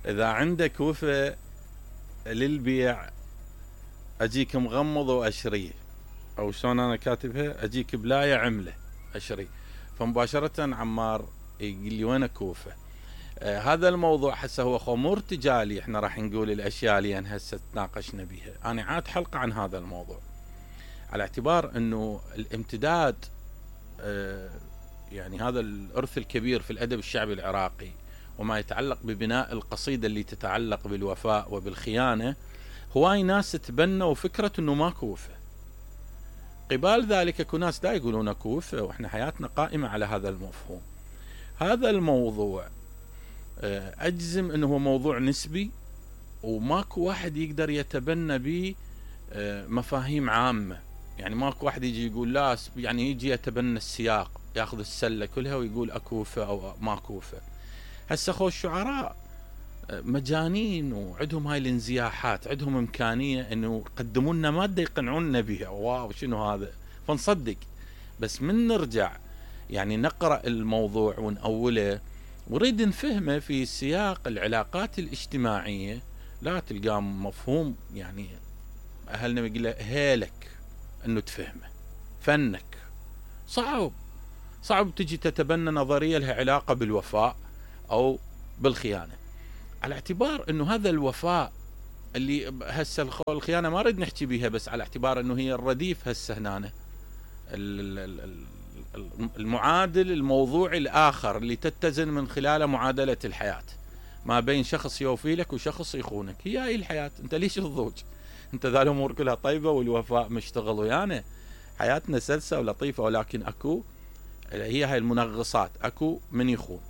اذا عندك وفا للبيع اجيك مغمض واشريه، او شلون انا كاتبها، اجيك بلاية عملة اشري. فمباشرة عمار يقول لي وينك وفا؟ هذا الموضوع هسه هو خمور ارتجالي، احنا راح نقول الاشياء اللي هسه تناقشنا بها. انا عاد حلقة عن هذا الموضوع على اعتبار انه الامتداد يعني هذا الارث الكبير في الادب الشعبي العراقي وما يتعلق ببناء القصيدة اللي تتعلق بالوفاء وبالخيانة، هواي ناس تبنوا فكرة انه ماكو وفا. قبال ذلك اكو ناس دا يقولون اكو وفا، واحنا حياتنا قائمة على هذا المفهوم. هذا الموضوع اجزم انه هو موضوع نسبي، وماكو واحد يقدر يتبنى به مفاهيم عامة. يعني ماكو واحد يجي يقول لا، يعني يجي يتبنى السياق، ياخذ السلة كلها ويقول اكو وفا او ماكو وفا. هسه خو الشعراء مجانين وعندهم هاي الانزياحات، عندهم امكانية انه يقدموا لنا مادة يقنعونا بها، واو شنو هذا، فنصدق. بس من نرجع يعني نقرأ الموضوع ونأوله ونريد نفهمه في سياق العلاقات الاجتماعية، لا تلقاه مفهوم. يعني اهلنا يقول له هيلك انه تفهمه، فنك صعب تجي تتبنى نظرية لها علاقة بالوفاء او بالخيانة، على اعتبار انه هذا الوفاء اللي هسه الخيانة ما نريد نحكي بيها، بس على اعتبار انه هي الرديف هسه هنا المعادل الموضوعي الاخر اللي تتزن من خلاله معادلة الحياة ما بين شخص يوفي لك وشخص يخونك. هي هاي الحياة، انت ليش تضوج؟ انت ذا الامور كلها طيبة والوفاء مشتغل ويانا، حياتنا سلسة ولطيفة، ولكن اكو هي هاي المنغصات، اكو من يخون.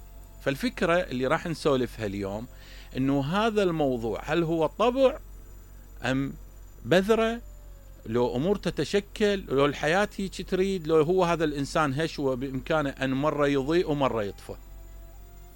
فالفكرة اللي راح نسولفها اليوم انه هذا الموضوع هل هو طبع ام بذرة، لو امور تتشكل، لو الحياة هيك تريد، لو هو هذا الانسان هش وبامكانه ان مرة يضيء ومرة يطفى.